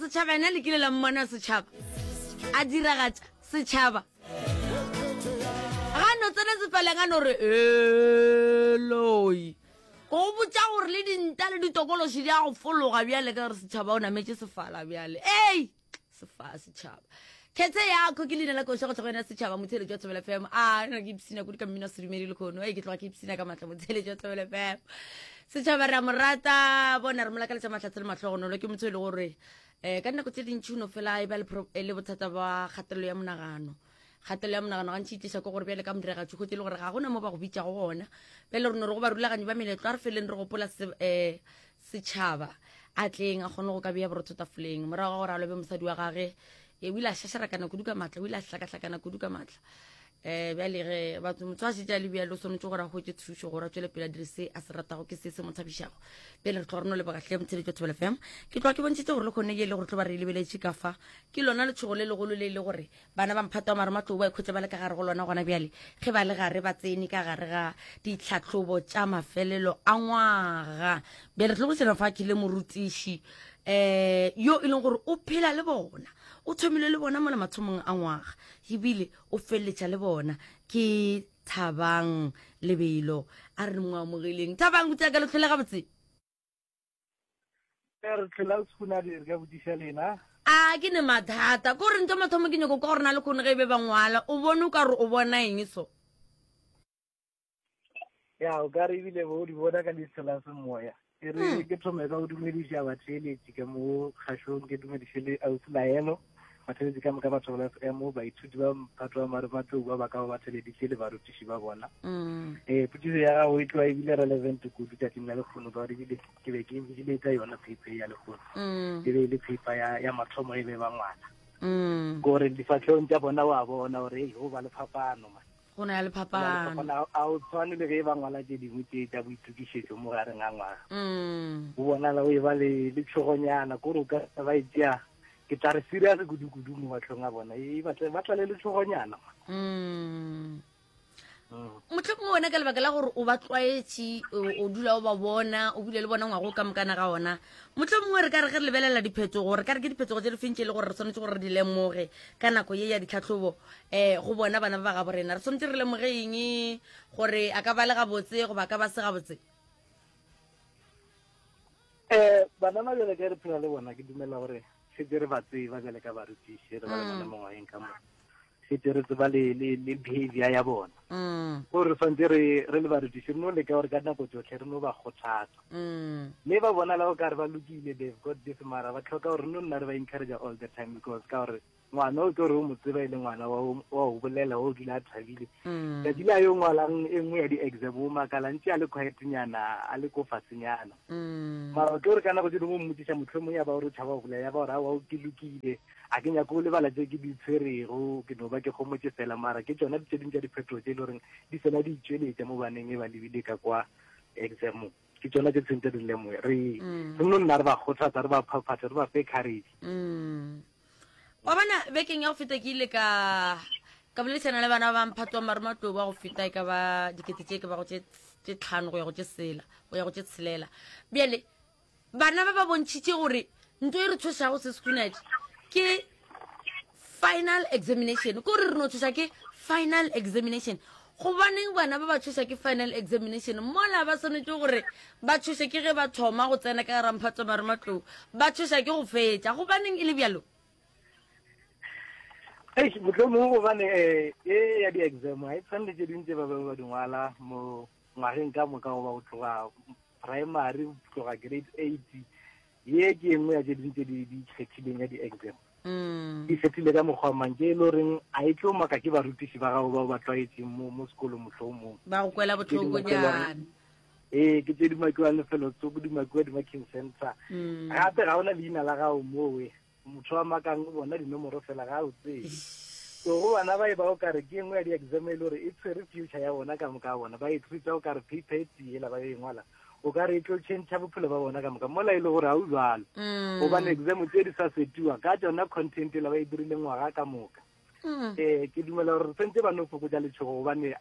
Setšhaba ena le kile la mmona setšhaba a diragatša setšhaba ga no tsena sefaleng a no re eloi go botša gore le dinta le ditokološi di a go fologa bjale ka gore setšhaba o nametše sefala bjale ei sefa setšhaba khethe yako ke leina la koša go tšwa go yena setšhaba motheletši wa thobela fm a nna ke ipsina kudu ka mmino wa sedumedi le kgono e ke tloga ke ipsina ka maatla motheletši wa thobela fm setšhaba re a mo rata bona re mo lakaletša mahlatse le mahlogonolo ke motho e le gore um ka dinako tse dintšhi o no fela e ba le bothata ba kgatelelo ya monagano kgatelelo ya monagano gantši e tliša ke gore bjale ka modiragatši kgotse e le gore ga gona mo ba go bitšago gona bjale re no re go barulaganyi ba meletlo a re feleng re gopola um setšhaba a tleng a kgone go ka bea borotho tafoleng morago ga gore a lobe mosadi wa gage e o ile a šašarakana kudu ka maatla o ile a hlakahlakana kudu ka maatla um bjale ge batho motho a šetše a le bjalo o swanetše gore a hwetše thušo gore a tšwele pele a dire se a se ratago ke se se mo thabišago bjale re tloga re no leboga hle motsheletšo thobela fm ke tloga ke bontšhitše gore le kgone ye le gore tlo ba re e lebeletše ka fa ke lona letšhogo le legolo le e le gore Bana ba mphato wa marematlou ba ikhwetša ba le ka gare go lona gona bjale ge ba le gare ba tsene ka gare ga ditlhahlobo tša mafelelo a ngwaga. Bjale re tlo go fa ke le morutiši um yo e leng gore o phela le bona, o thomile le bona mola mathomong a ngwaga ebile o feleletša le bona ke Thabang Lebelo. A re mo amogeleng. Thabang, o tsea ka le tlhole gabotse? Re tlhola sekhunadi re ka botšiša lena. A ke ne mathata ko re ntho mathomo ke nyoko kwa gore na le kgone ge e be ba ngwala o bone o ka re o bona eng so. Ya o ka re ebile bo di bona ka leihlo la semoya. E re hmm. ke thome ka go dumediša batheeletši ka mo kgašong ke dumediše le ausi Laelo batheeletši ka moka batho ba FM baithuti ba mphato wa marematlou ba ba ka ba ba theleditše le barutiši ba bona. Mm. Eh potšišo ya gago e tloa ebile relevant kudu tšatšing la lekgono ka gore ebile ke be ke biletsa yona paper ya lehono mm. e be e le paper ya, ya mathomo e be ba ngwana mm. gore difatlhong tša bona wa bona gore ei go ba le phapano man go na le phapano a o tshwane le ge ba ngwala tše dingwe tše tša boitokišetšo mo gareng ga ngwaga mm. o bonala o e ba le le tšhogonyana kore o ka ba e tšea ke tla re serious kudu-kudu mo matlhong a bona e ba tla le letšhogonyana mm. mohlomongwe wena ka lebaka la gore o ba tlwaetše o dula o ba bona o bile le bona ngwago ka mokana ga ona mohlomongwe re ka re ge re lebelela diphetogo re ka re ke diphetogo tse di feng tše e le gore re swanetše gore re di lemoge ka nako ye ya ditlhatlhobo um go bona bana ba ba gabo rena re swanetše re lemoge eng gore a ka ba le gabotse goba a ka ba se gabotse um bana ba bjale ka re phela le bona ke dumela gore setse re ba tseba bjale ka barutiši re ba le bona mm. mongwageng ka moka setse re tseba le le le behavior ya bona mm. gore re santse re re le barutiši re no leka gore ka nako tsotlhe re no ba kgothatsa mm. mme ba bona la o kare ba lokile they've got this mara ba tlhoka gore re no nna re ba encourage all the time because ka gore ngwana o ke gore o mo tseba e le ngwana wa go bolela wa o dula a thabile mm. tsatsi le a yo ngwalang e nngwe ya di-exam o makala ntse a le quietnyana a le ko fasenyana mara ke gore ka nako tse dingwe o mmotsiša mohlomong ya ba gore o tšhaba go bolela ya ba gore aowa ke lokile A ke nyake go lebala tše ke di tshwerego, ke no ba ke homotše fela. Mara ke tšona tše dingwe tša diphetogo tše e le goreng di fela di itšweletša mo baneng e ba lebile ka kwa examong. Ke tšona tše tshwentse re di lemoge. Re mm. re no nna re ba kgothatsa, re ba phaphatha, re ba fe courage. Mm. Wa bona bekeng ya go feta ke ile ka ka boledišana le bana ba mphato wa marematlou ba go feta e ka ba dikete tše ke ba go tše tlhano go ya go tše sela go ya go tše tshelela bjale Bana ba ba bontšhitše gore nto e re tshošago se sekhunadi ke final examination, ko re re no tshoša ke final examination. Gobaneng bana ba ba tshoša ke final examination mola ba swanetše gore ba tshoše ke ge ba thoma go tsena ka ramphatso marematlou, ba tshoša ke go fetša? Gobaneng e le bjalo? Eish, mohlomongwe gobane um e ya di-exam ga e tshwane le tše dingwe tše ba bangwe ba di ngwala mo ngwageng ka moka goba go tloga primary go tloga grade 8 ye ke e nngwe ya tše dingwe tse di di ikgethileng ya di-exam mm. di kgethile ka mokgwa mang ke e le goreng a e tlo maka ke barutiši ba gago bao ba tlwaetseng mo mo sekolong mohlomong ba go kwela botlhokonyana ee ke tse di makiwang lefelo tsoko di makiwa di-marking center mm. gape ga ona leina la gago mowe Motho wa makang o bona dinomoro fela ga o tsebe. So go bana ba e ba o kare ke engwe ya di-exam e le gore e tshwere future ya bona ka moka bona ba e treata o kare paper e tee ela ba e ngwala o ka re e tlo change bophelo ba bona ka moka mola e le gore ga o jalo mm. gobane exam tse di sa setiwa ka tsona content ela ba e dirile ngwaga ka moka mm. um ke dumela gore sentse ba no fokotsa letshogo gobane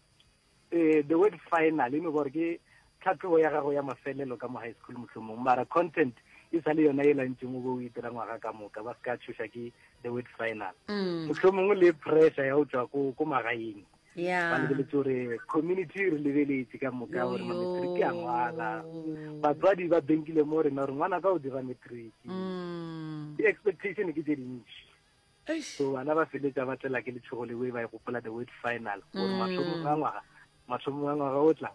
eh the word final e no gore ke tlhatlhobo ya gago ya mafelelo ka mo high school mohlomong mara content e sa le yona e lantšeng o be o e dira ngwaga ka moka, ba se ka tšhoša ke the word final. Mohlomongwe le pressure ya go tšwa ko ko magaeng. Yeah. Ba lebeletše gore community e re lebeletše ka moka gore ma-matric a ngwala. Batswadi ba benkile mo rena gore ngwana ka o dira matric. Di-expectation ke tše dintši. So bana ba feletša ba tlela ke letšhogo lewe ba e gopola the word final gore mathomong a ngwaga, mathomong a ngwaga o tla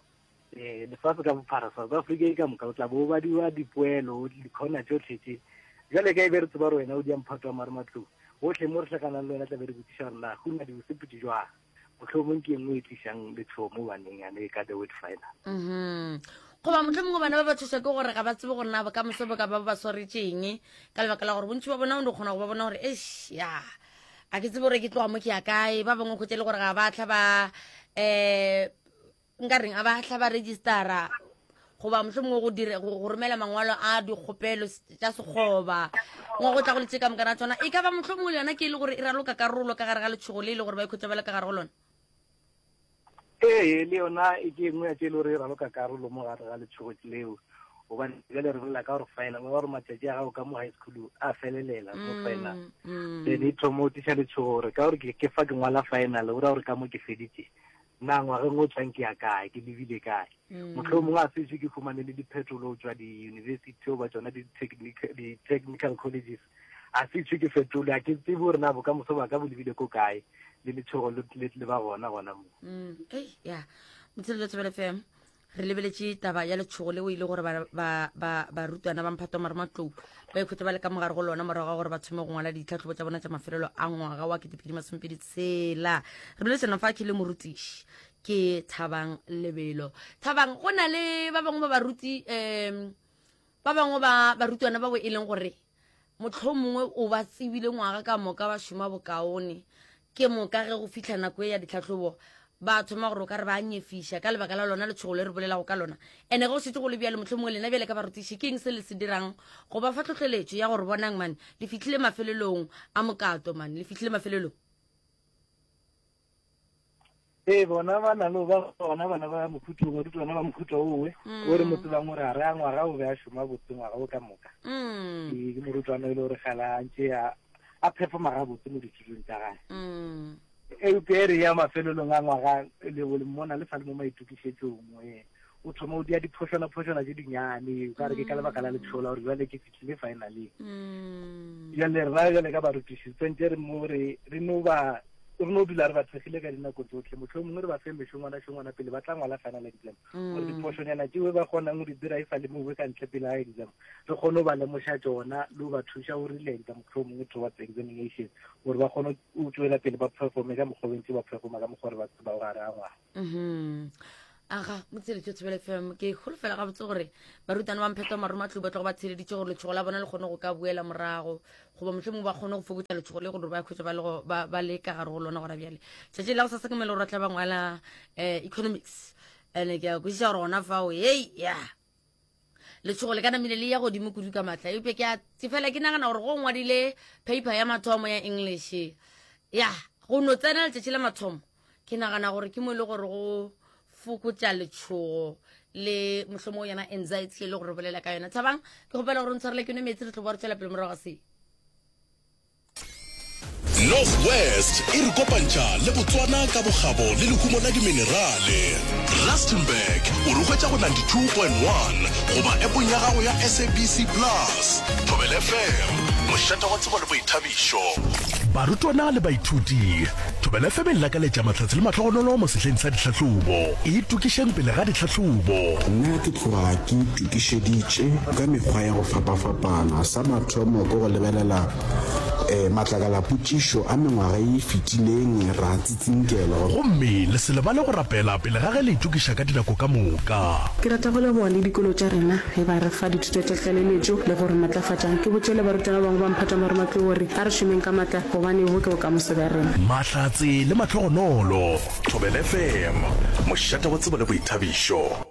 eh lefase ka bophara South Africa e ka moka o tla bo badiwa dipoelo dikhona tšohle tše. Bjale ka e be re tseba gore wena o dia mphato wa marematlou, gohle mo re hlakanang le wena tla be re botšiša gore na go na di bosepetše jwang. Mohlomong ke e nngwe e tlišang letšhogo mo baneng yane ka the word final. Goba mohlomongwe bana ba ba tšhošwa ke gore ga ba tsebe gore na bokamoso bo ka ba bo ba swaretšeng, ka lebaka la gore bontši ba bona o no kgona go ba bona gore eish ya a ke tsebe gore ke tloga mo ke ya kae. Ba bangwe kgwetše le gore ga ba tla ba um nka reng a ba tla ba registera goba mohlomongwe go dire go romela mangwalo a dikgopelo tša sekgoba ngo go tla go le tše ka moka na tsona e ka ba mohlomongwe le yona ke e le gore e raloka karolo ka gare ga letšhogo le e le gore ba ikhwetša ba le ka gare go lona. Ee, le yona e ke engwe ya tše e le gore e raloka karolo mo gare ga letšhogo leo, gobane bjale re bolela ka gore final, ba gore matšatši a gago ka mo high school a felelela mo final, then e thoma o tliša letšhogo gore ka gore ke fa ke ngwala final, o ra gore ka mo ke feditše, na ngwageng o tlang ke ya kae, ke lebile kae. Mohlomongwe a sešo ke humane le diphetolo go tšwa di-university goba tšona di-technical colleges, a sešo ke fetole, a ke tsebe gore na bokamoso ba ka bo lebile ko kae, le letšhogo le ba gona gona mo. Ei, ya Motsheletšo Thobela FM, re lebeletše taba ya letšhogo leo e le gore barutwana ba mphato wa marematlou ba ikhwetša ba le ka mogare go lona morago ga gore ba thome go ngwala ditlhahlobo tša bona tša mafelelo a ngwaga wa 2026. Re boledišana fa ke le morutiši ke Thabang Lebelo. Thabang, go na le ba bangwe ba baruti um ba bangwe ba barutwana bao e leng gore mohlomongwe o ba tsebile ngwaga ka moka ba šoma bokaone, ke moka ge go fihla nako e ya ditlhahlobo ba thoma gore o ka re ba nyefiša ka lebaka la lona letšhogo le re bolelago ka lona. Ene ge go šetše go le bjalo, mohlomongwe lena bjale ka barutiši ke eng se le se dirang go ba fa tlhohleletšo ya gore bonang man le fihlile mafelelong a mokato, man le fihlile mafelelong? Ee, bona ba na le ba bona bana ba mohuta o, barutwana ba mohuta owe, o re mo tsebang gore a re a ngwaga o be a šoma botse ngwaga o ka moka. Ee, ke morutwana e le gore gala a ntše a a performa gabotse mo dithutong tša gage. Eupša e re ya mafelelong a ngwaga le le mmona le sa le mo maitokišetšong, ee, o thoma o dia diphošwana-phošwana tše dinyane, o ka re ke ka lebaka la letšhogo la gore bjale ke fihlile finaleng. Bjale rena bjale ka barutiši tsentše re mo re re no ba re no dula re ba thekgile ka dinako tsotlhe, mohlomongwe re ba fe mešongwana-šongwana pele ba tla ngwala final exam, gore diphošonyana tšeo ba kgonang go di dira e sa le mowe ka ntle pele ga exam, re kgone go ba lemoša tšona le go ba thuša go relenta mohlomongwe towards examination, gore ba kgone go tšwela pele ba performe ka mokgwa o ntse ba performa ka mokgwa re ba tsebago gare ga ngwaga. Aga, motsheletšo Thobela FM, ke holofela gabotse gore barutwana ba mpheto marumatlou ba tlogo ba tsheleditše gore letšhogo la bona le kgone go ka boela morago, goba mohlomongwe ba kgone go fokotša letšhogo le gore ba khwetša ba le go, ba, ba le ka gare go lona gona bjale. Tšatši la go sasa ke mele gore ba tla ba ngwala eh, economics, ene ke a kwešiša gore gona fao, hei, ya letšhogo le ka namile le ya godimo kudu ka matla, eupša ke a ke fela ke nagana gore go ngwadile paper ya mathomo ya English, ya go no tsena letšatši la mathomo, ke nagana gore ke mo e le gore go fokotša letšhogo le mohlomongwe yona anxiety e le gore bolela ka yona. Thabang, ke kgopela gore o ntshwarele ke nwe meetse, re tlo boa re tšwela pele morago ga se. North West e re kopantšha le Botswana ka bokgabo le lehumo la diminerale. Rustenburg o re hwetša go 92.1 goba appong ya gago ya SABC Plus. Thobela FM, mošate wa tsebo le boithabišo. Barutwana le baithuti, Thobela FM e lakaletša mahlatse le mahlogonolo mo sehleng sa ditlhahlobo. Itokišeng pele ga ditlhahlobo. Nna ke tloga ke itokišeditše ka mekgwa ya go fapafapana. Sa mathomo ke go lebelela matlakalapotšišo a mengwaga ye e fetileng ra tsitsinkelwa. Gomme le se lebale go rapela pele ga ge le itokiša ka dinako ka moka. Ke rata go leboga le dikolo tša rena ge ba re fa dithuto tša tlaleletšo le go re matlafatša. Ke botše le barutwana ba bangwe ba mphato wa marematlou gore a re šomeng ka matla gobane bo ke bokamoso bja rena. Mahlatse le mahlogonolo. Thobela FM, mošate wa tsebo le boithabišo.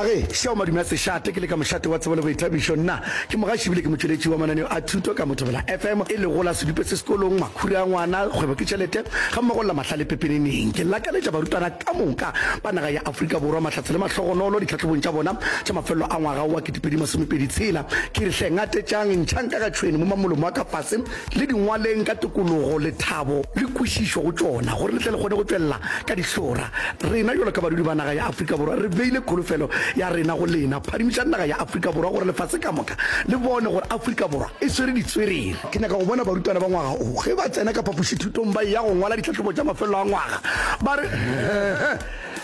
Age, šeo madume a sešate, ke le ka mošate wa tsebo le boithabišo. Nna ke mogaši ebile ke motšweletši wa mananeo a thuto ka mo Thobela FM, e lego la Sedupe se sekolong, Makhura a ngwana, Kgwebo ke tšhelete, gammogo le la Mahlale pepeneneng. Ke lakaletša barutwana ka moka ba naga ya Afrika Borwa mahlatse le mahlogonolo ditlhahlobong tša bona tša mafelelo a ngwaga wa 2026. Ke re hle ngatetšang, ntšhang ka ga tšhwene mo mamolomo a ka fase, le di ngwaleng ka tokologo, lethabo le kwešišo go tšona, gore le tle le kgone go tšwelela ka dihlora. Rena bjalo ka badudi ba naga ya Afrika Borwa re beile kholofelo ya rena go lena. Phadimišang naga ya Afrika Borwa gore lefase ka moka le bone gore Afrika Borwa e swere ditswerere. Ke nyaka go bona barutwana ba ngwaga o ge ba tsena ka phapošithutong ba eya go ngwala ditlhahlobo tša mafelelo a ngwaga ba re,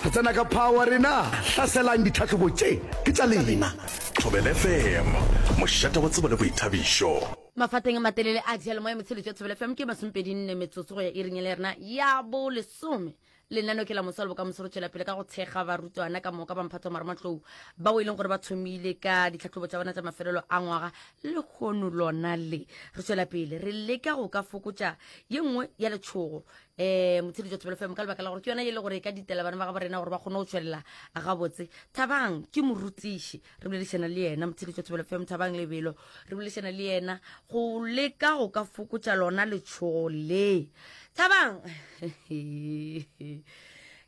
Re tsena ka power rena! Hlaselang ditlhahlobo tše, ke tša lena! Thobela FM, mošate wa tsebo le boithabišo. Mafateng a matelele a diyalemoya motsheletšo ya Thobela FM ke masomepedi nne metsotso go ya iring e le rena ya bolesome. Lenaneo ke la moso le bokamoso re tšwela pele ka go thekga barutwana ka moka ba mphato wa marematlou bao e leng gore ba thomile ka ditlhahlobo tša bona tša mafelelo a ngwaga lehono lona le. Re tšwela pele re leka go ka fokotša ye nngwe ya letšhogo um motsheletšo wa Thobela FM ka lebaka la gore ke yona ye e le gore e ka ditela bana ba gabo rena gore ba kgone go tšwelela gabotse. Thabang ke morutiši re boledišana le yena motheletšo Thobela FM Thabang Lebelo re boledišana le yena go leka go ka fokotša lona letšhogo le Thabang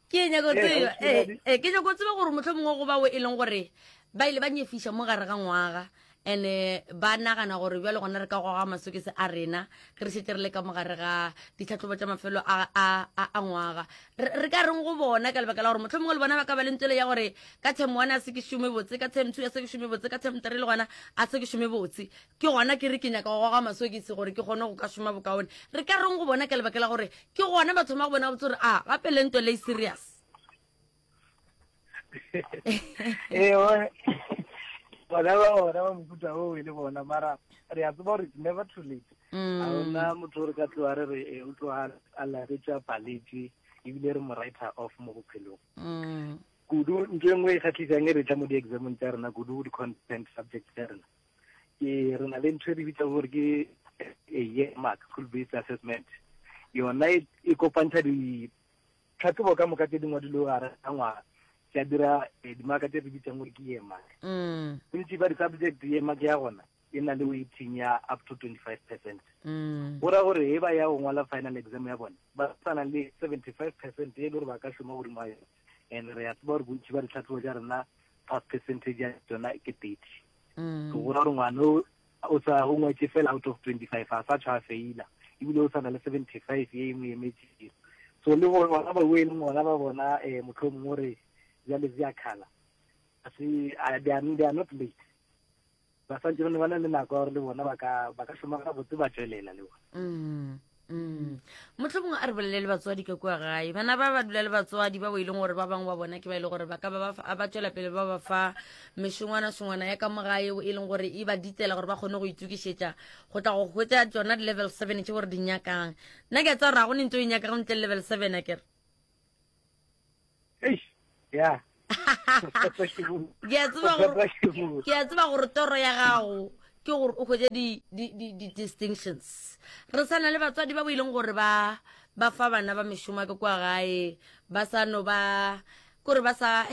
ke nyako tseba eh, eh, ke nyako tseba gore motlho mongwe go bao e leng gore ba ile ba nyefiša mo gare ga ngwaga ene ba nagana gore bjale gona re ka goga masokese a rena ge re šetse re le ka mogare ga ditlhatlhobo tša mafelo a, a, a, a ngwaga re, re ka reng go bona ka lebaka la gore motlho mongwe le bona ba ka ba le ntswele ya gore ka term one a se ke šome botse ka term two a se ke šome botse ka term three le gona a se ke šome botse ke gona ke re ke nyaka go goga masokisi gore ke kgone go ka šoma bokaone re ka reng go bona ka lebaka la gore ke gona ba thoma go bona botse gore a gape le ntwa le e serious ee bona ba bona ba mofuta oo e le bona mara re a tseba gore it's never too late mm. ga ona motho o re ka tloa re re eh, o tloa a laretša paletše ebile re mo writer off mo bophelong mm. kudu ntho e nngwe e kgatlhisang e re tla mo di-examong tsa rena kudu di-content subject tsa rena ke re na le ntho e re bitsa gore ke a year mark school based assessment yona e, e kopantsha Tlhahlobo ka moka tše di ngwadilwego gare ga ngwaga tša dira eh, dimaka tše re bitsang gore ke yearmark. Mm. Bontši ba di-subject yearmark ya gona e na le weighting ya up to 25 percent. Mm. Go ra gore e ba ya go ngwala final exam ya bone ba sana le 75 percent e le gore ba ka šoma godimo ga yone and re a tseba gore bontši ba ditlhahlobo tša rena pass percentage ya tsona ke 30. Mm. So go ra gore ngwana o o sa o ngwetše fela out of 25 a sa tshwa feila ebile o sa na le 75 ye e mo emetšego so le gore bona ba e leng gona ba bona um eh, motlho mongwe gore jale se a khala se they are not late ba santse ba na le nako ya gore le bona ba ka šoma gabotse ba tswelela le bona mm. Mm. motlho mongwe a re bolele le batswadi ka kua gae bana ba ba dula le batswadi ba bo e leng gore ba bangwe ba bona ke ba e le gore ba ka ba ba tswela pele ba ba fa mešongwana shongwana ya ka mo gae e leng gore e ba ditela gore ba kgone go itokišetša go tla go hwetša tsona di-level seven tše gore di nyakang nna ke a tsa gore ga go ne ntse o e nyakago ntle le level seven a kere ya ke a tseba gore ke a tseba gore toro ya gago ke gore o hwetše di-distinctions re sa na le batswadi ba bo e leng gore ba ba fa bana ba mešomo ka kua gae ba sa no ba kore ba sa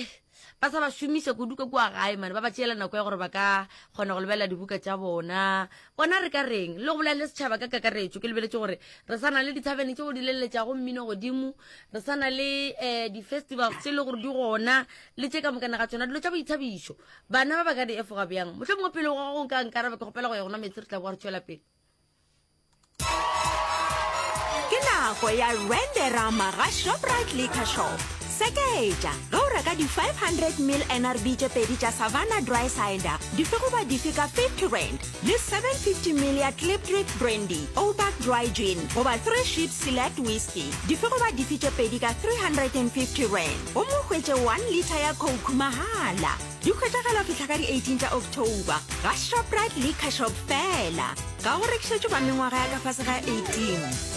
ba sa ba šomiša kudu ka kua gae mane ba ba tšeela nako ya gore ba ka kgona go lebelela dibuka tša bona bona re ka reng le go bolela le setšhaba ka kakaretšo ke lebeletše gore re sa na le dithabene tšeo di leletšago mmino godimo re sa na le um di-festivals tše e le gore di gona le tše ka mokana ga tsona dilo tša boithabišo bana ba ba ka di efoga bjang motlho mongwe pele go go nka nkaraba ke kgopela go ya gona metsi re tla boa re tšwela pele Ke nako ya Renderama ga Shoprite Liquor Shop. Seketša ge o reka di 500 ml NRB tše pedi tša Savanna Dry Cider dife goba dife ka 50 rand le 750 ml ya Klipdrift Brandy, Ouback Dry Gin goba Three Ships Select Whisky dife goba dife tše pedi ka 350 rand gomme o hwetše 1 litre ya Coke mahala. Di hwetšagala go fihla ka di 18 tša October ga Shoprite Liquor Shop fela. Ga go rekišetšwe ba mengwaga ya ka fase ga 18.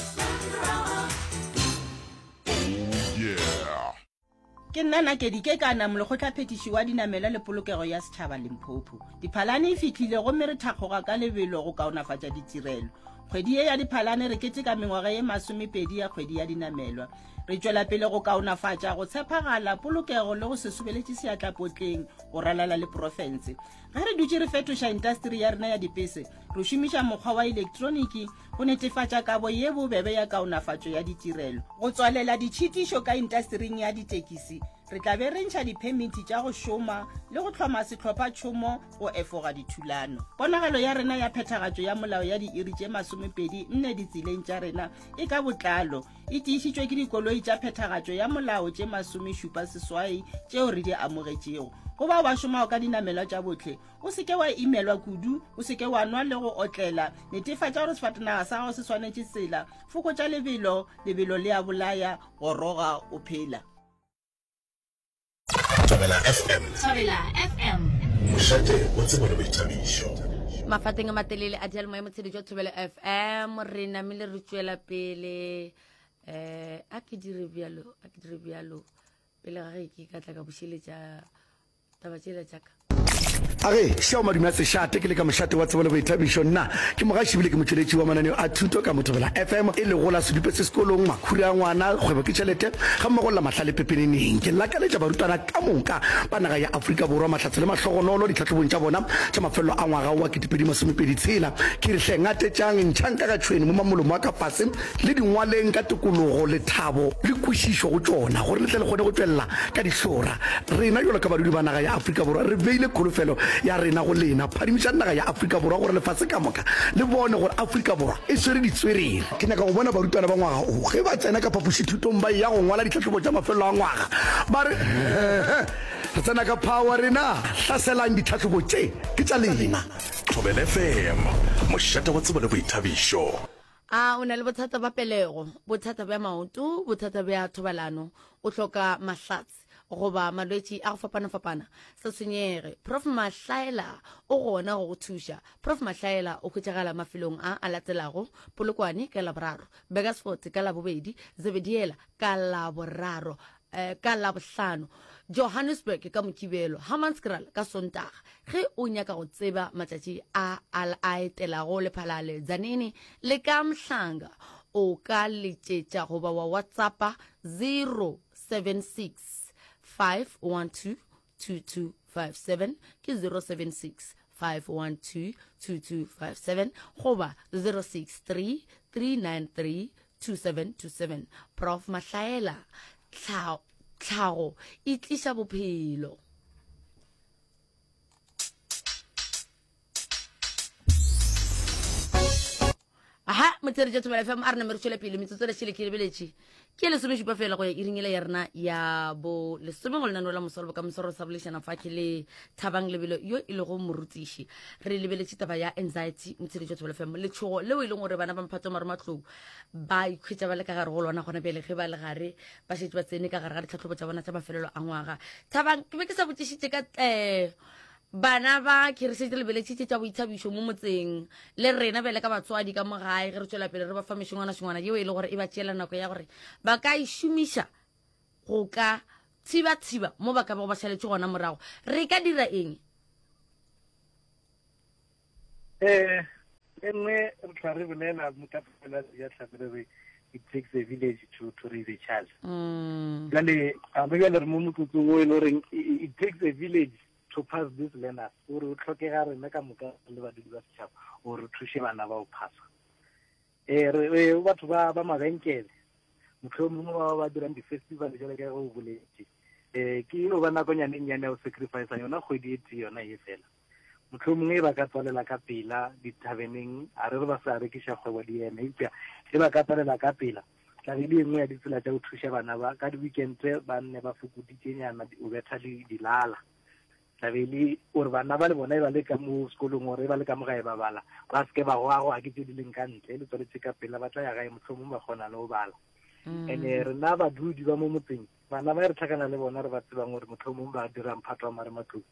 Ke nna Nakedi Kekana, molekgotlaphethiši wa dinamelwa le polokego ya setšhaba Limpopo. Diphalane e fihlile gomme re thakgoga ka lebelo go kaonafatša ditirelo. Kgwedi ye ya Diphalane re keteka mengwaga ye masomepedi ya kgwedi ya dinamelwa. Re tšwela pele go kaonafatša go tshepagala, polokego le go se sobeletše seatla potleng go ralala le profense. Ge re dutše re fetoša intasteri ya rena ya dipese, re šomiša mokgwa wa elektroniki go netefatša kabo ye bobebe ya kaonafatšo ya ditirelo. Go tswalela ditšhitišo ka intastering ya ditekisi, re tla be re ntšha diphemiti tša go šoma le go hloma sehlophatšhomo go efoga dithulano. Ponagalo ya rena ya phethagatšo ya molao ya diiri tše 24 ditseleng tša rena e ka botlalo e tiišitšwe ke dikoloi tša phethagatšo ya molao tše 78 tšeo re di amogetšego. Go bao ba šomago ka dinamelwa tša bohle, o se ke wa imelwa kudu, o se ke wa nwa le go otlela. Netefatša gore sefatanaga sa gago se swanetše tsela. Fokotša lebelo, lebelo le a bolaya, goroga o phela. Thobela FM. Thobela FM. Mošate wa tsebo le boithabišo. Mafateng a matelele a diyalemoya motshedi jwa Thobela FM re namile re tšwela pele eh a ke dire bjalo a ke dire bjalo pele ga ge ke ka tla ka bušeletša taba tšela tša ka. A ge, šao madume a sešate, ke le ka mošate wa tsebo le boithabišo. Nna ke mogaši ebile ke motšweletši wa mananeo a thuto ka mo Thobela FM, e lego la Sedupe se sekolong, Makhura a ngwana, Kgwebo ke tšhelete, gammogo le la Mahlale pepeneneng. Ke lakaletša barutwana ka moka ba naga ya Afrika Borwa mahlatse le mahlogonolo ditlhahlobong tša bona tša mafelelo a ngwaga wa 2026. Ke re hle ngatetšang, ntšhang ka ga tšhwene mo mamolomo a ka fase le di ngwaleng ka tokologo, lethabo le kwešišo go tšona, gore le tle le kgone go tšwelela ka dihlora. Rena bjalo ka badudi ba naga ya Afrika Borwa re beile kholofelo ya rena go lena. Phadimišang naga ya Afrika Borwa gore lefase ka moka le bone gore Afrika Borwa e swere ditswerere. Ke nyaka go bona barutwana ba ngwaga o ge ba tsena ka phapošithutong ba eya go ngwala ditlhahlobo tša mafelelo a ngwaga ba re, Re tsena ka power rena! Hlaselang ditlhahlobo tše, ke tša lena! Thobela FM, mošate wa tsebo le boithabišo. A o na le bothata ba pelego, bothata bja maoto, bothata bja thobalano, o hloka mahlatse goba malwetši a go fapana-fapana? Se tshwenyege, Prof Mahlaela o gona go go thuša. Prof Mahlaela o hwetšagala mafelong a a latelago, Polokwane ka Laboraro, Burgersfort ka Labobedi, Zebediela ka Laboraro, eh, ka Labohlano, Johannesburg ka Mokibelo, Hammanskraal ka Sontaga. Ge o nyaka go tseba matšatši a a a etelago Lephalale, Tzaneen le ka Mhlanga, o ka letšetša goba wa WhatsAppa 076 512 2257, ke 076 512 2257 goba 063 393 2727. Prof Mahlaela, tlhago e tliša bophelo. Aha, motsere tša Thobela FM a re name re tšwele pele metsotso le šele ke lebeletše ke lesomešupa fela go ya iring ele ya rena ya bo lesome go lenaneo la moswalo bokamoso re sa bolešana fa ke le Thabang Lebelo yo e lego morutiši. Re lebeletše taba ya anxiety motsere tša Thobela FM letšhogo leo e leng gore bana ba mphato marematlou ba ikhwetša ba le ka gare go lona gona bjale ge ba le gare ba šetše ba tsene ka gare ga ditlhahlobo tša bona tša mafelelo a ngwaga. Thabang, ke be ke sa botšišitše ka um bana ba ke re šetše lebeletšitše tša boithabišo mo motseng le rena bjale ka batswadi ka mo gae ge re tšwela pele re ba fa mešongwana-šongwana yeo e le gore e ba tšeela nako ya gore ba ka e šomiša go ka thiba-thiba mo ba ka bago ba šaletše gona morago. Re ka dira eng? Eh, e nngwe re tla re bolela motapela ya tlhape re re it takes a village to to raise a child. Mm. Jale a re jale re mo motsotsong o e le goreng it takes a village to pass this learners gore o tlhokega rena ka moka le badudi ba setšhaba gore re thuše bana ba go phasa. Eh re re batho ba ba mabenkele mohlomongwe ba ba dirang di-festival jale ka ge o boletše um ke no ba nakonyane e nnyane ya go sacrifice yona kgwedi e tee yona e fela Mohlomongwe ba ka tswalela ka pela dithabeneng, a re re ba sa rekiša kgwebo di eme, eupša ge ba ka tswalela ka pela, tla be e le e nngwe ya ditsela tša go thuša bana ba ka di-weekend ba nne ba fokoditšenyana o betha dilala. Tla be e le gore bana ba le bona e ba le ka mo sekolong gore e ba le ka mo gae ba bala, ba se ke ba goagoa ke tše di leng ka ntle, le tswaletše ka pela ba tla ya gae mohlomongwe ba kgona le go bala. And-e rena badudi ba mo motseng, bana ba e re tlhakana le bona re ba tsebang gore mohlomong ba dira mphato wa marematlou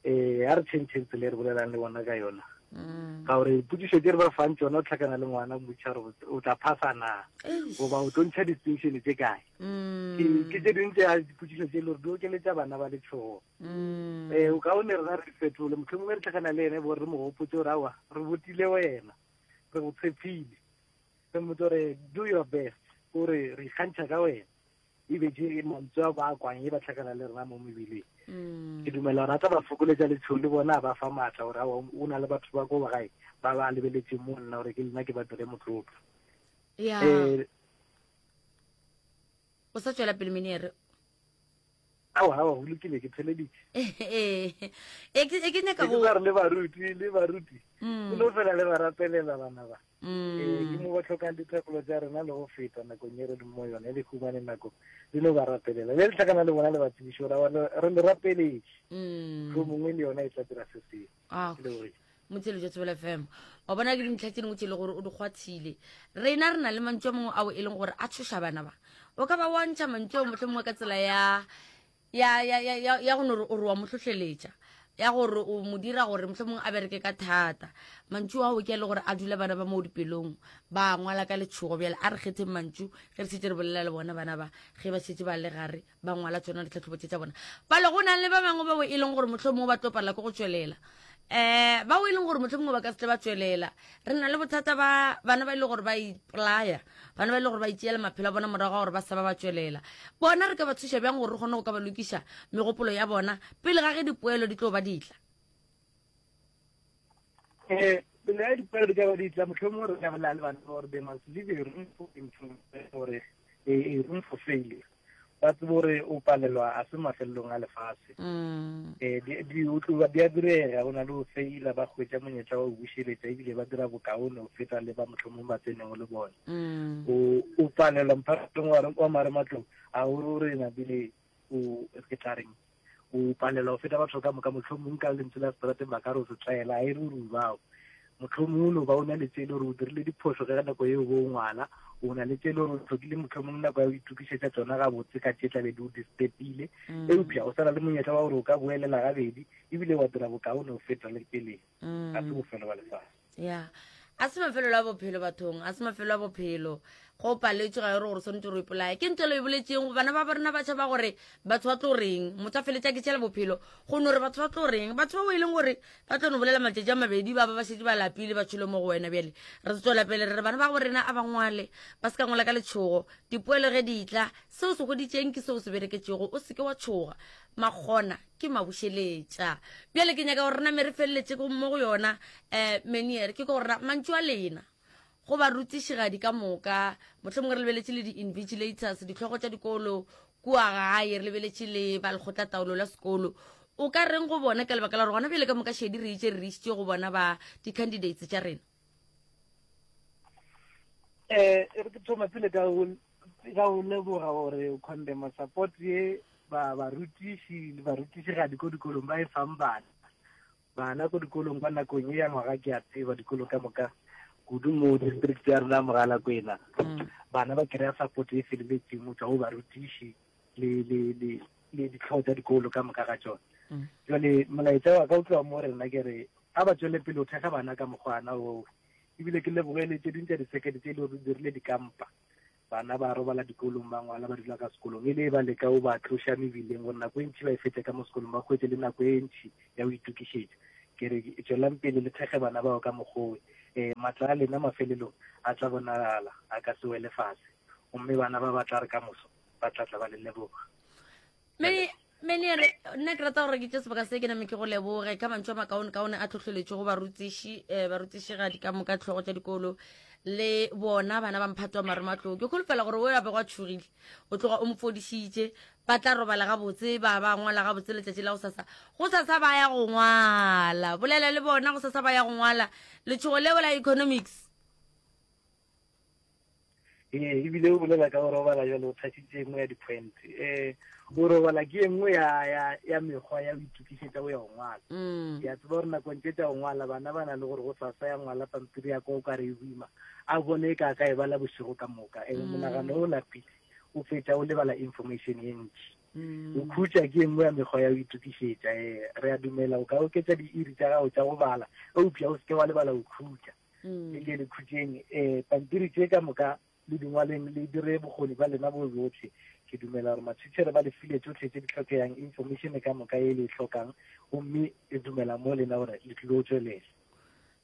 um a re tšhentšheng tsela e re bolelang le bona ka yona mm. ka gore potšišo tse re ba fang tsona o tlhakana le ngwana mmotšiša gore o tla phasa na goba o tlo ntšha distinction tse kae mm. ke tse dingwe tsa dipotšišo tse e le gore di okeletša bana ba letšhogo um mm. o kaone rena re fetole motlho mongwe re tlhakana le ene bo re mo gopotse gore aowa re botile wena re go tshepile re mmotse gore do your best gore re ikgantšha ka wena. E be tše mantswe a ba a kwang e ba hlakana le rena mo mebileng. Mm. Ke dumela gore a tla ba fokoletša letšhogo le bona a ba fa maatla gore aowa o na le batho ba ko gae ba ba lebeletseng mo nna gore ke lena ke ba dire motlotlo. Ya. Eh, o sa tšwela pele meniere. Aowa, aowa, go lokile, ke theleditše. Ee, e ke e ke nyaka go. Ke re le baruti, le baruti. Mm. Le no fela le ba rapelela bana ba. Mm. Ee, ke mo ba tlhokang dithapelo tša rena le go feta nakong e re leng mo yone, le humane nako le no ba rapelela. Le le tlhakana le bona le ba tsebiše gore re le rapeletše. Mm. Mohlomongwe le yona e tla dira se sengwe. Ah, Ke lebogile. Motšhelo jwa Thobela FM. Wa bona ke dintlha tse dingwe tse e le gore o di kgwathile. Rena re na le mantšu a mangwe ao e leng gore a tshoša bana ba. O ka ba wa ntšha mantšu ao mohlomongwe ka tsela ya ya ya ya ya ya go no re o re wa mo hlohleletša ya gore o mo dira gore mohlomongwe a bereke ka thata. Mantšu ao ke a le gore a dula bana ba mo dipelong ba ngwala ka letšhogo. Bjale a re kgetheng mantšu ge re šetše re bolela le bona bana ba ge ba šetše ba le gare ba ngwala tsona ditlhatlhobo tše tša bona. Bale go na le ba bangwe bao e leng gore mohlomongwe ba tlo palela ke go tšwelela, um bao e leng gore mohlomongwe ba ka se tle ba tšwelela. Re na le bothata ba bana ba e leng gore ba ipolaya, bana ba e leng gore ba itšeela maphelo a bona morago ga gore ba sa ba ba tšwelela. Bona re ka ba thuša bjang gore re kgone go ka ba lokiša megopolo ya bona pele ga ge dipoelo di tlo ba ditla? Um pele ga dipoelo di ka ba ditla, mohlomongwe re ka bolela le bana gore they must leave a room for improvement, gore a room for failure. Ba tsebe gore o palelwa a se mafelelong a lefase. Mm. Eh, di, di utluba di a direga, go na le go feila, ba hwetša monyetla wa go bušeletša, ebile ba dira bokaone go feta le ba mohlomong ba tsenego le bona. Mm. O, o palelwa mphatong wa, wa marematlou, a o re o re napile o, ke tla reng, o palelwa go feta batho ka moka, mohlomong ka lentswe la seterateng ba ka re o setlaela, a e re o re bao. Mohlomong o no ba o na le tše e le gore o dirile diphošo ge ka nako yeo bo o ngwala, o na le tše e le gore o hlokile mohlomong nako ya go itokišetša tšona gabotse ka tše tla be di o disturbile, Mm. eupša o sa na le monyetla wa gore o ka boelela gabedi ebile wa dira bokaone go feta le peleng. Ga se Mm. bofelo ba lefase. Ya, a se mafelelo a bophelo bathong, a se mafelelo a bophelo. Go paletšwe ga e re gore o swanetše gore o ipolaye. Ke ntho e le e boletšeng go bana ba rena batšha ba gore batho ba tlo reng, motho a feletša ke tšhela bophelo go no re batho ba tlo reng. Batho bao e leng gore ba tlo no bolela matšatši a mabedi ba ba ba šetše ba lapile ba tšhole mo go wena. Bjale re tswela pele re re bana ba go rena a ba ngwale, ba se ka ngwala ka letšhogo. Dipoelo ge di tla, seo se hweditšeng ke seo se bereketšego, o se ke wa tšhoga. Makgona ke mabušeletša. Bjale ke nyaka gore name re feleletše mo go yona um meniere, ke gore na mantšu a lena go barutišigadi ka moka, mohlomongwe re lebeletše le di-invigilators, ditlhogo tša dikolo kua gae, re lebeletše le ba lekgotlataolo la sekolo, o ka reng go bona ka lebaka la gore gona bjale ka moka šedi re itše re išitše go bona ba di-candidates tša rena? Eh, e re ke thoma pele ka go ka go leboga gore condemn support ye ba barutiši le barutišigadi ko dikolong ba e fang bana. Bana ko dikolong kwa nakong ye ya ngwaga ke a tseba dikolo ka moka kudu mo district ya rena Mogalakwena. Mm. Bana ba kry-a support e feleletseng go tšwa go barutiši le le le le ditlhogo tša dikolo ka moka ga tšona. Mm. Jwale molaetša wa ka o tloga mo rena ke re a ba tšwele pele o thekga bana ka mokgwana oo. Ebile ke leboge le tše ding tša disekete tše e le gore di dirile dikampa. Bana ba robala dikolong, ba ngwala, ba dula ka sekolong. E le ba leka o ba tloša mebileng gore nako e ntši ba e fetše ka mo sekolong, ba hwetše le nako e ntši ya go itokišetša. Ke re tšwelang pele le thekge bana bao ka mokgowe. Um matla a lena mafelelong a tla bonagala, a ka se wele fase. Gomme bana ba ba tla re ka moso ba tla tla ba le leboga. Many, Meniere, nna ke rata gore ke tše sebaka se ke name ke go leboge ka mantšu a makaonekaone a tlhohleletšo go barutiši, eh, barutišigadi ka moka, tlhogo tša dikolo le bona bana ba mphato wa marematlou. Ke kholofela gore o ya bego a tšhogile o tloga o mo fodišitše, ba tla robala gabotse, ba ba ngwala gabotse letšatši la go sasa. Go sasa ba ya go ngwala, bolela le bona go sasa ba ya go ngwala letšhogo leo la economics. Ee, ebile o bolela ka go robala jalo o tshasitse e nngwe ya di-point. Um go robala ke e nngwe ya, ya, ya mekgwa ya go itokišetša go ya go ngwala. Mm. Ke a tseba gore nakong tše tša go ngwala bana ba na le gore go sasa ya ngwala pampiri ya kwa o ka re e boima, a bone e ka ka e bala bošego ka moka. Ene Mm. monagano o lapile, o fetša o lebala information ye ntši. Mm. Go khutša ke e nngwe ya mekgwa ya go itokišetša. Ee, re a dumela o ka oketša diiri tša gago tša go bala, eupša o se ke wa lebala go khutša. Mm. Le ke le khutšeng, eh, pampiri tše ka moka le di ngwaleng, le dire bokgoni ba lena bo bohle. Ke dumela gore mathiitšhere ba le file tšohle tše di hlokeyang, information ka moka ye le e hlokang, gomme le dumela mo lena gore le tlilo tšwelela.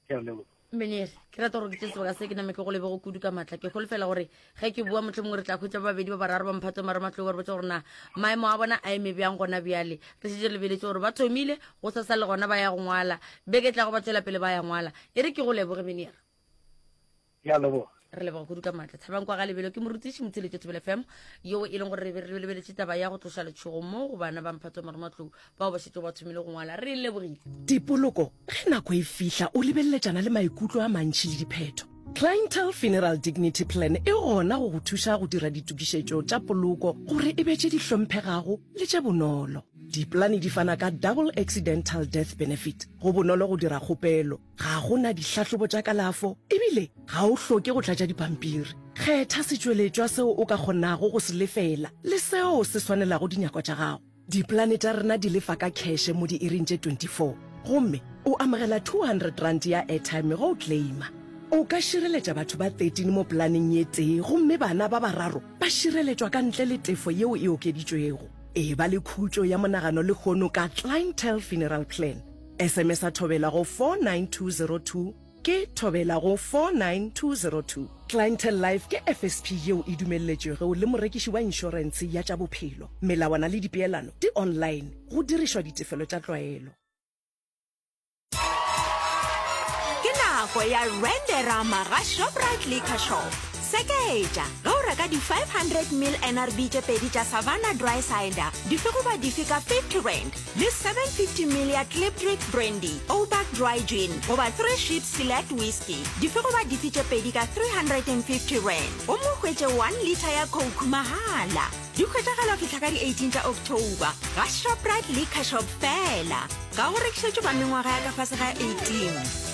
Ke a leboga. Meneer, ke rata gore ke tše sebaka se ke name ke go lebego kudu ka maatla. Ke holofela gore ge ke bua mohlomongwe re tla hwetša ba babedi ba bararo ba mphato marematlou ba re botša gore na maemo a bona a eme bjang gona bjale. Re šetše re lebeletše gore ba thomile go sasa le gona ba ya go ngwala. Beke e tlago ba tšwela pele ba ya ngwala. E re ke go leboge Meneer. Ke a leboga. Re leboga kudu ka maatla. Thabang kwa ga Lebelo ke morutiši motheletši Thobela FM yo e leng gore re be re lebeletše taba ya go tloša letšhogo mo go bana ba mphato wa marematlou bao ba šetšego ba thomile go ngwala. Re lebogile. Dipoloko, Ge nako e fihla o lebeleletšana le maikutlo a mantši le diphetho. Clientele Funeral Dignity Plan e gona go go thuša go dira ditokišetšo tša poloko gore e be tše di hlomphegago le tše bonolo. Dipolane di fana ka Double Accidental Death Benefit. Go bonolo go dira kgopelo. Ga go na dihlahlobo tša kalafo e bile ga o hloke go tlatša dipampiri. Kgetha setšweletšwa seo o ka kgonago go se lefela le seo se swanelago dinyakwa tša gago. Dipolane tša rena di lefa ka kheše mo diiring tše 24 gomme o amogela R200 ya airtime ge o claima. O ka šireletša batho ba 13 mo polaneng ye tee gomme bana ba bararo ba šireletšwa ka ntle le tefo yeo e okeditšwego. Eba le khutšo ya monagano lehono ka Clientele Funeral Plan. SMS-a Thobela go 49202 ke Thobela go 49202. Clientele Life ke FSP yeo e dumelletšwego le morekiši wa inšorentshe ya tša bophelo. Melawana le dipeelano di online go dirišwa ditefelo tša tlwaelo. Ke nako ya Renderama ga Shoprite Liquor Shop. Seketša ge o reka di 500 ml NRB tše pedi tša Savanna Dry Cider, dife goba dife ka R50. Le 750 ml ya Klipdrift Brandy, Ouback Dry Gin goba Three Ships Select Whisky, dife goba dife tše pedi ka R350 gomme o hwetše 1 litre ya Coke mahala. Di hwetšagala go fihla ka di 18 tša October ga Shoprite Liquor Shop feela. Ga go rekišetšwe ba mengwaga ya ka fase ga 18.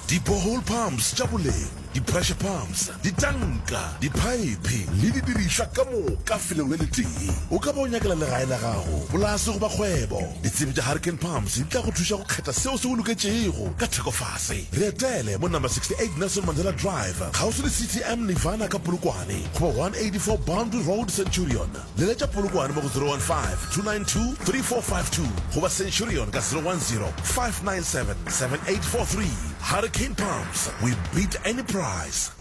Di-borehole pumps tša boleng, di-pressure pumps, ditanka, diphaephe le didirišwa ka moka felong le letee. O ka ba o nyakela legae la gago, polase goba kgwebo. Ditsebi tša Hurricane Pumps di tla go thuša go kgetha seo se go loketšego ka thekofase. Re etele mo number 68 Nelson Mandela Drive, kgauswi le CTM Nirvana ka Polokwane, goba 184 Boundary Road, Centurion. Leletša Polokwane mo go 015-292-3452 goba Centurion ka 010-597-7843. Hurricane Pumps, we beat any price.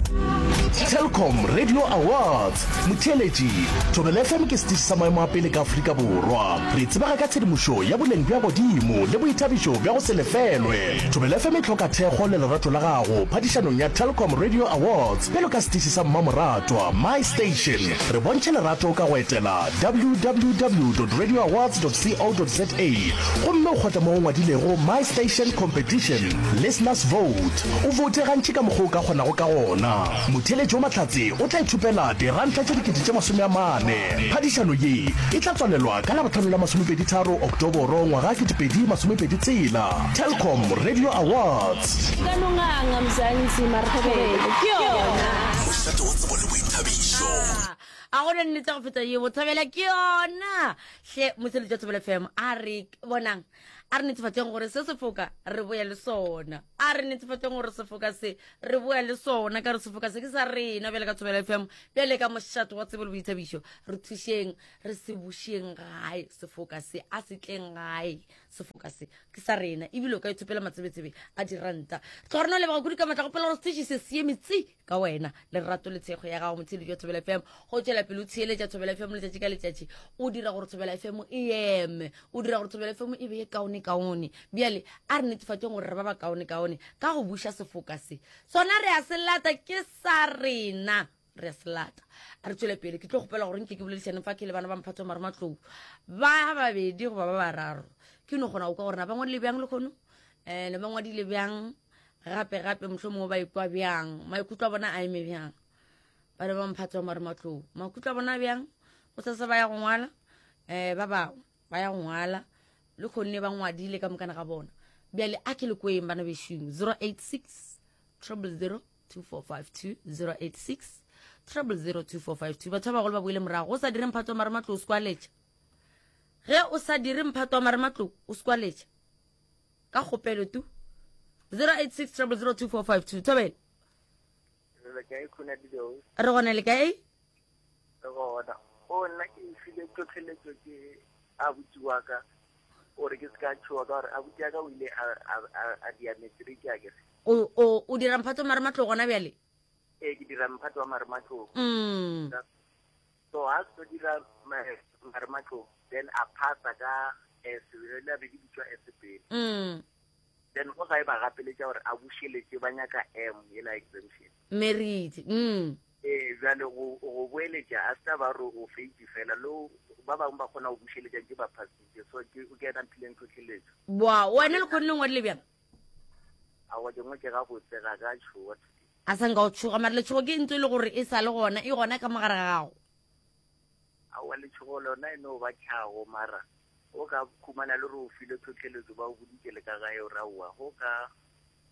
Telkom Radio Awards, Motheeletši, Thobela FM ke setiši sa maemo a pele ka Afrika Borwa. Re tsebega ka tshedimošo ya boleng bja godimo le boithabišo bja go se lefelwe. Thobela FM e hloka thekgo le lerato la gago phadišanong ya Telkom Radio Awards bjalo ka setiši sa mmamoratwa, My Station. Re bontšhe lerato ka go etela www.radioawards.co.za gomme o kgotle mo go ngwadilego My Station Competition, Listeners Vote. O voute gantši ka mokgwa o ka kgonago ka gona. Motheeletši wa mahlatse o tla ithopela diranta tše 40,000. Phadišano ye e tla tswalelwa ka Labohlano la masomepeditharo Oktoboro ngwaga 2026. Telkom Radio Awards. Ka no nganga Mzansi mara thobela ke yona. Mošate wa tsebo le boithabišo. A go na nnete go feta ye bothobela ke yona. Hle motheletši wa Thobela FM a re bonang a re netefatšeng gore se sefoka re boya le sona. A re netefatšeng gore sefoka se re boya le sona ka re sefoka se ke sa rena bjale ka Thobela FM bjale ka mošate wa tsebo le boithabišo. Re thušeng re se bušeng gae sefoka se a se tleng gae sefoka se ke sa rena ebile o ka ithopela matsebetsebe a diranta tloga rena o leboga kudu ka matla gopela gore seteši se se eme tsi ka wena lerato le tshego ya gago motheeletši wa thobela fm go tšwela pele o theeletša thobela fm letšatši ka letšatši o dira gore thobela fm e eme o dira gore thobela fm e be ye kaone kaone bjale a re netefatšeng gore re ba ba kaone kaone ka go buša sefoka se sona re a se lata ke sa rena re a se lata a re tswele pele ke tlo kgopela gore nke ke boledišane fa ke le bana ba mphato wa marematlou ba babedi goba ba bararo ke no kgona go kwa gore na ba ngwadile bjang le kgono um ne ba ngwadile bjang gape gape mohlho mongwe ba ikwa bjang maikutlo a bona a eme bjang ba ne ba mphato wa marematlou maikutlo a bona bjang go sasa ba ya go ngwala um ba bangwe ba ya go ngwala le kgonne ba ngwadile ka mokana ga bona bjale a ke le kweng bana bešung 086 000 2452 086 0002452 batho ba bagolo ba boile morago o sa dire mphato wa marematlou o sekwaletša ge o sa dire mphato wa marematlou o sekwaletša ka kgopelo tu 086 0002452 thobele re gona le kae re gona o nna ke file tlhotlheletso ke abuti wa ka. Gore ke se ka tšhoga ka gore abuti ya ka o ile a dia matric a kere. O o o dira mphato wa marematlou gona bjale? Ee, ke dira mphato wa marematlou. Mm. So ha se dira marematlou then a phasa ka S, le be di bitswa S pele. Mm. Then go gae ba gapeletša gore a bušeletše ba nyaka M yela exemption. Merit. Mm. Ee, bjale go go boeletša a se ba re o feitše fela lo ba bangwe ba kgona go bušeletša ke ba phasitše so ke ke ena mphileng tlhotlheletšo. Boa, wena le kgonne ngwadile bjang? Aowa ke ngwe ke gabotse ga ka tšhoga today. A sa nka o tšhoga mara letšhogo ke ntho e le gore e sa le gona e gona ka mogare ga gago. Aowa letšhogo lona e no ba tlhago mara o ka khumana le gore o filwe tlhotlheletšo ba o boditše le ka gae o re aowa go ka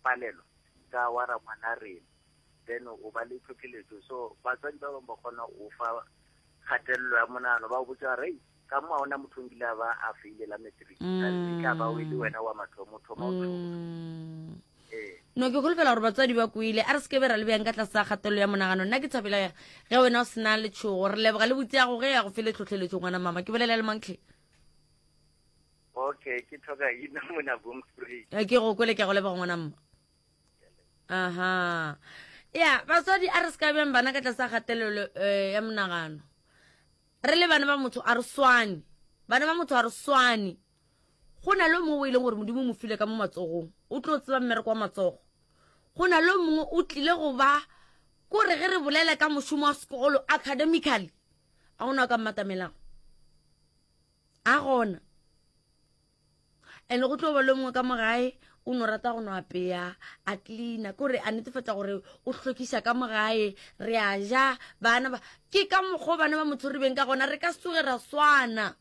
palelwa ka wa ra ngwana rena. Then o ba le tlhotlheletšo so batswadi ba bangwe ba kgona go fa kgatelelo ya monagano ba go botša gore ka mo ga ona motho o nkile a ba a faile la matric mm. ka ba o e le wena wa mathomo thoma o mm. ee. No ke holofela gore batswadi ba kwele a re se ke be ra le bjang ka tlase ga kgatelelo ya monagano nna ke thabela ge wena o sena letšhogo re leboga le botse ya go ge ya go fele tlhotlheletšo ngwana mama ke bolela le mankle okay ke tlhoka ina mona boomspruit ke go kwele ke go leboga ngwana mma aha ya batswadi a re se ka bjang bana ka tlase ga kgatelelo um ya monagano re le bana ba motho a re swane bana ba motho a re swane go na le mongwe o e leng gore modimo o mo file ka mo matsogong o tlo tseba mmereko wa matsogo go na le mongwe o tlile go ba kore ge re bolela ka mošomo wa sekolo academically a gona o ka mmatamelago a gona and go tlo ba le mongwe ka mo gae o no rata go no apeya a cleana kore a netefatsa gore o hlwekiša ka mo gae re a ja bana ba ke ka mokgwa bana ba motho re beng ka gona re ka se tsoge ra swana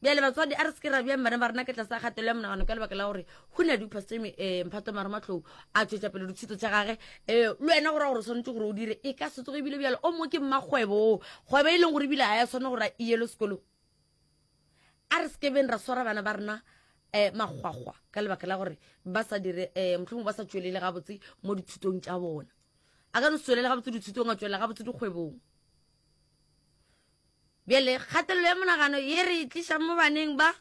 bjale batswadi a re se ke ra bjang bana ba rena ka tlase a kgatelo ya monagano ka lebaka la gore go na di-pastor um eh, mphato mare matlou a tšwetša pele dithuto tša gage um le wena gore gore o swanetše gore o dire e ka se tsoge ebile bjale o mongwe ke mmakgwebo o kgwebo e leng gore ebile ga ya swane gore a iyele sekolong a re sekebeng ra swara bana ba rena um makgwakgwa ka lebaka la gore ba sa dire um eh, mohlomongwe ba sa tšwelele gabotse mo dithutong tša bona a ka no se tswelele gabotse dithutong a tswelela gabotse dikgwebong bjale kgatelelo ya monagano ye re e tlišang mo baneng ba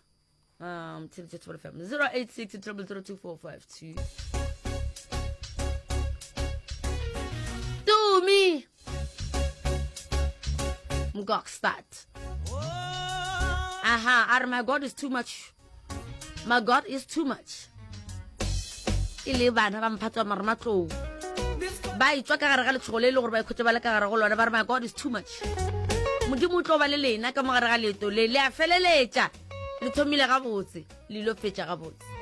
um 086 0002452 tumi mgokstad aha a re my god is too much my god is too much e le bana ba mphatso wa marematlou ba etswa ka gare ga letshogo le e le gore ba ikhwetsa ba le ka gare go lona ba re my god is too much modimo o tlo ba le lena ka mo gare ga leeto le le a feleletša le thomile gabotse le ilo fetša gabotse.